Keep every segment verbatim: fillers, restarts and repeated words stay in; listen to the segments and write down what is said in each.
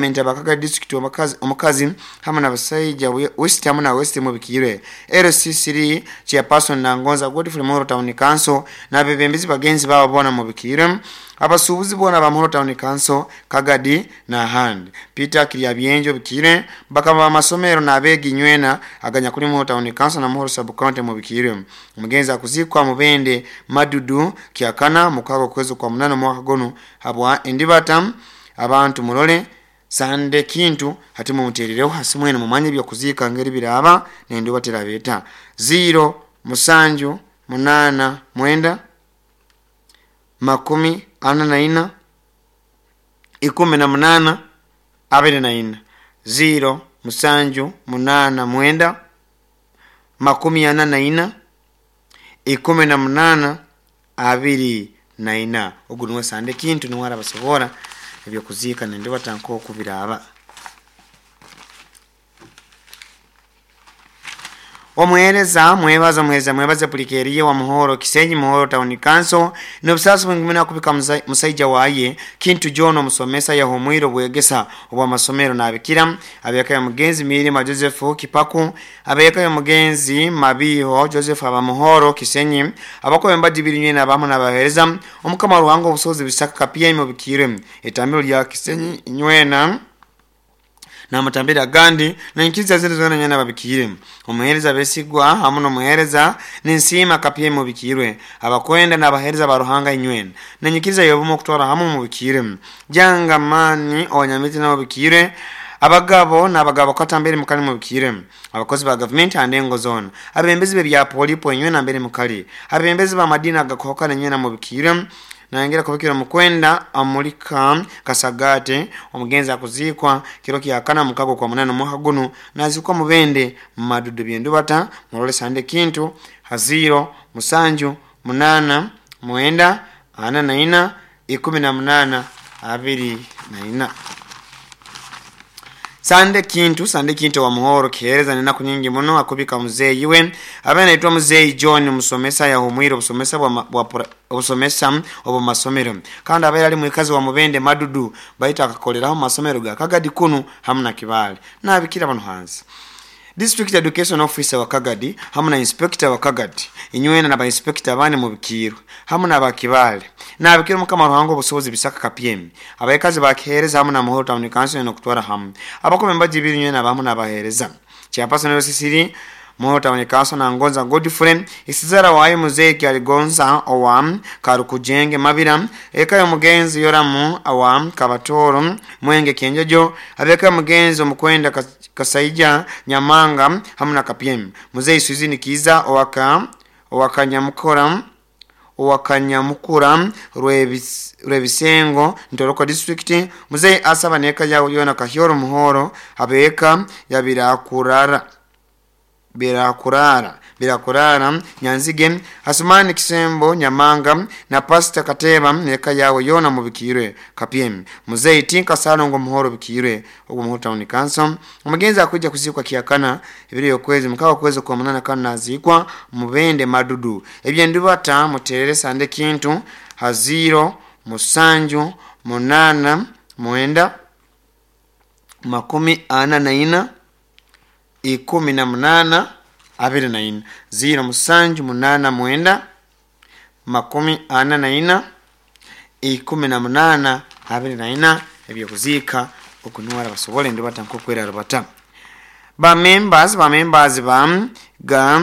Parliament abakaga district omukazi omukazi hamu n'abasaija West hamu na West mubikirwe L C three chairperson Nangonza Godfrey Muhoro Town Council n'abebembezi bagenzi babo bona mubikirwe abasuubuzi bona ba Muhoro Town Council Kagadi na handi Peter Kiryabyenjo bikire bakaba amasomero n'abegi nywena aganya kuli Muhoro Town Council na Muhoro Sub County mubikirwe omugenzi akuzikwa mubende Madudu Kyakana mukago kwezo kwa munano mwaka gono habwa endibata abantu mulole sande kintu hati mumuterereho hasi mwene mumanye byo kuzika ngeri biraba nendo batera beta zero musanju munana mwenda makumi ana na ina ikumi na munana abiri na ina zero musanju munana mwenda makumi ana na ina ikumi na munana abiri na ina. Ogu niwe sande kintu niwe arabasobora ebyokuzika nende batanko okubiraba. Omuhereza mwebaza omuhereza mwebaza pulikeriye wa Muhoro Kisenyi Muhoro Town Council n'obusasi bwingumina kubika musaija waye Kintu John omusomesa yahomwiro bwegesa obwa masomero n'abikira abeka ya mugenzi Mirima Joseph Kipaku abeka ya mugenzi Mabiho Joseph aba Muhoro Kisenyi abakobe mbadi biri nyene abamu n'abahereza omukama Ruhango obusozi bisaka kapia imubikire etambiro lya Kisenyi nywena na matambira gandi na nkiza zile zona nyana babikire omuhereza besigwa hamu n'omuhereza ninsima kapye mubikirwe abakwenda n'abahereza ba Ruhanga inywena na nyikiza yobumo kutwara hamu mubikire janga mani onyamiti n'ababikire abagabo n'abagabo katambere mukali mubikire abakozi ba government andengo zone abembezi be bya polipo inywena mbere mukali abembezi ba madina gakoka nywena mubikire naingira kubikira mukwenda amulika kasagate omugenzi akuzikwa kiro kyakana mukago kwa munano mwaka guno nazikwa mubende madudu byendubata mulole sande kintu haziro musanju munana mwenda ana na ina ikumi na munana abiri na ina. Sande kintu sande kintu wa Muhoro kihereza nina kunyingi muno akubika muzeyi we abe naitwa muzeyi John musomesa ya humwiro busomesa bwa bwa obusomesa obo masomero kandi abe ali mwikazi wa mubende Madudu baita akakoleraho masomero ga Kagadi kunu hamna kibali nabikira bano hansi District Education Officer wa Kagadi hamna inspector wa Kagadi inywena na ba inspector bane mu bikiro hamna ba kibali nabikira mukama Ruhango obusobozi bisaka kapyemi abayikazi bakihereza hamna na Muhoro Town Council no kutwara hamu abakome mbaji biri nywena bamu nabahereza chairperson wa Sisiri Muhoro Town Council na Ngonza Godfrey isizara waye muzeki aligonza owam karukujenge mabira eka ya mugenzi yoramu awam kabatoro mwenge kenjojo abeka mugenzi omukwenda kasaija nyamanga hamna kapyemi muzeyi Suzini Kiza owaka owakanyamukora owakanyamukura rwebisengo Ntoroko district muzeyi asaba neka yawo yona kahyoro Muhoro abeka yabirakurara birakurara birakurara Nyanzige Asumani Kisembo Nyamanga na Pastor Kateba neka yawo yona mubikirwe kapyemi muzeyi Tinka Salongo Muhoro bikirwe ogwo Muhoro Town Council omugenzi akujja kuzikwa kiakana ebiri yokwezi mukawa kwezi kwa munana kana nazikwa mubende Madudu ebyendubata muterere sande kintu haziro musanju munana mwenda makumi ana na ina ikumi na munana abiri na ina ziro musanju munana mwenda makumi ana na ina ikumi na munana abiri na ina ebyokuzika okunuwara basobole ndibata nkokwera rubata ba members ba members ba ga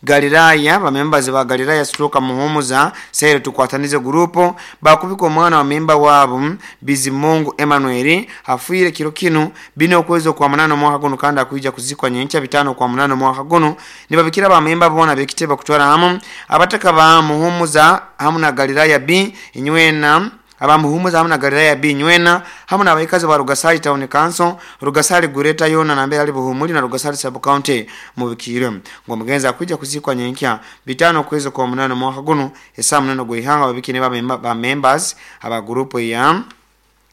Galilaya ba members ba Galilaya stroke muhumuza sere tukwatanize grupo bakubika omwana wa memba wabo Bizimungu Emmanuel afuire kiro kinu bino okwezo kwa munano mwaka guno kandi akuija kuzikwa nyencha bitano kwa munano mwaka guno nibabikira ba memba bona bekiteba kutwara hamu abataka ba muhumuza hamu na Galilaya B inywena abamuhumuza hamna Galilaya B nywena hamna abaikazi ba Rugasari Town Council Rugasari Gureta yona na mbere ali buhumuli na Rugasari Sub County mubikire ngo mugenza akwijja kuzikwa nyenkya bitano kwezo kwa munano mwaka guno esa munano gwihanga babikine ba, ba members aba group ya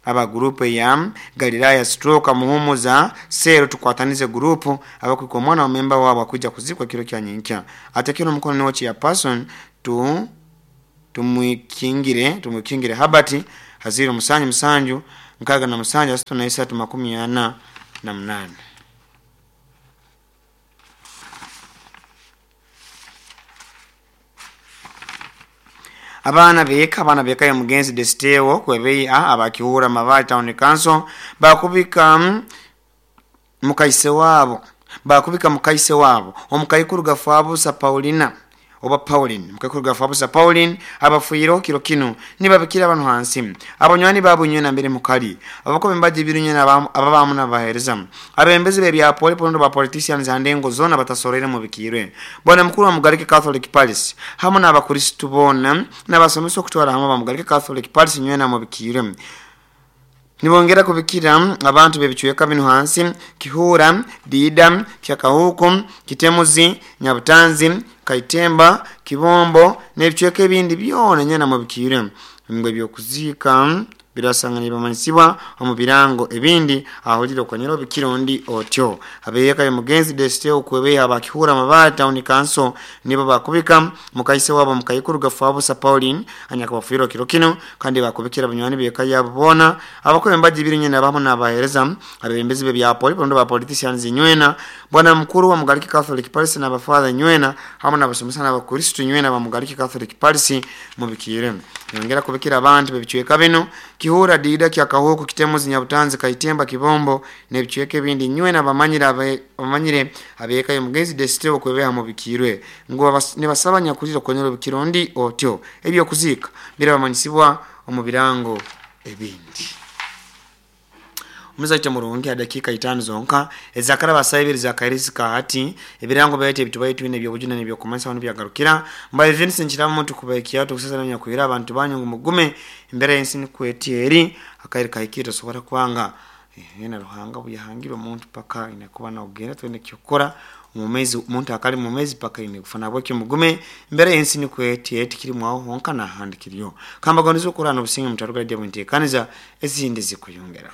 aba group ya Galilaya stroke muhumuza sero tukwatanize group abakwiko mwana wa member wabo akwijja kuzikwa kiro kya nyenkya atekero mukono niwo chia person tu tumwikingire tumwikingire habati haziro musanju musanju nkaaga na musanju asatu na isatu makumi ana na munaana. Abaana beeka abaana beeka ya mugenzi Destewo kwebeya abakiwura Mabali Town Council bakubika mukaise wabo bakubika mukaise wabo omukaikuru gafabusa Paulina oba Pauline mukaikuru gafabusa Pauline abafuiro kiro kino nibabikira abantu hansi abanywani babunywe na mbere mukali abako bembaje birunywe ababamu nabahereza abembezi be bya poli pondo ba politicians andengo zona batasorere mu bikirwe bwana mukuru wa Mugalike Catholic Palace hamwe n'abakristo bona n'abasomesa okutwara hamwe ba Mugalike Catholic Palace nywe na mu bikirwe nibongera kubikira abantu bebicweka bino hansi Kihura, Dida, Kyakahuku, Kitemuzi, Nyabutanzi, Kaitemba, Kibombo n'ebicweka ebindi byona nyana mu bikire ngwe byokuzika birasanga nibamanyisibwa omu birango ebindi ahulira okonyera bikirondi otyo abeyeka ya mugenzi Desteo kwebeya abakihura Mabali Town Council nibo bakubika mukaise wabo mukaikuru gafabusa Pauline anyakabafiro kiro kino kandi bakubikira banywani beka yabo bona abakobe mbaji birinye nabamo nabahereza abembezi be bya poli bondo ba politicians nywena bwana mukuru wa Mugalike Catholic Palace na bafather nywena hamwe n'abasomesa n'abakristo nywena ba Mugalike Catholic Palace mu bikire yongera kubikira abantu bebicweka bino Kihura, Dida, Kyakahuku, Kitemuzi, Nyabutanzi, Kaitemba, Kibombo n'ebicweka ebindi nywena bamanyira bamanyire abeka ya mugenzi Desteo kwebeha mu bikirwe ngo nibasaba nyakulira konyera bikirondi otyo ebyo kuzika birabamanyisibwa omu birango ebindi. Umuzaita murungi adakika itano zonka ezakara basayibiri zakairisi hati ebirango bayete ebitubaye twine byobujuna nebyo kumansa bano byagarukira mbaye Vincent Chiramu tukubayikia tukusasa nanya kuira abantu banyu mugume imbere y'ensi nikwetieri akairi kahikira sohora kwanga yena ruhanga buyahangirwe omuntu paka inakuba na ogenda twende kyokora mumezi umuntu akali mumezi paka ine kufana bwekyo mugume imbere y'ensi nikwetieri kiri mwaho honka na handikiriyo kamba gondizo kurana obusinge mutaruka radio mwitekaniza ezindi zikuyongera.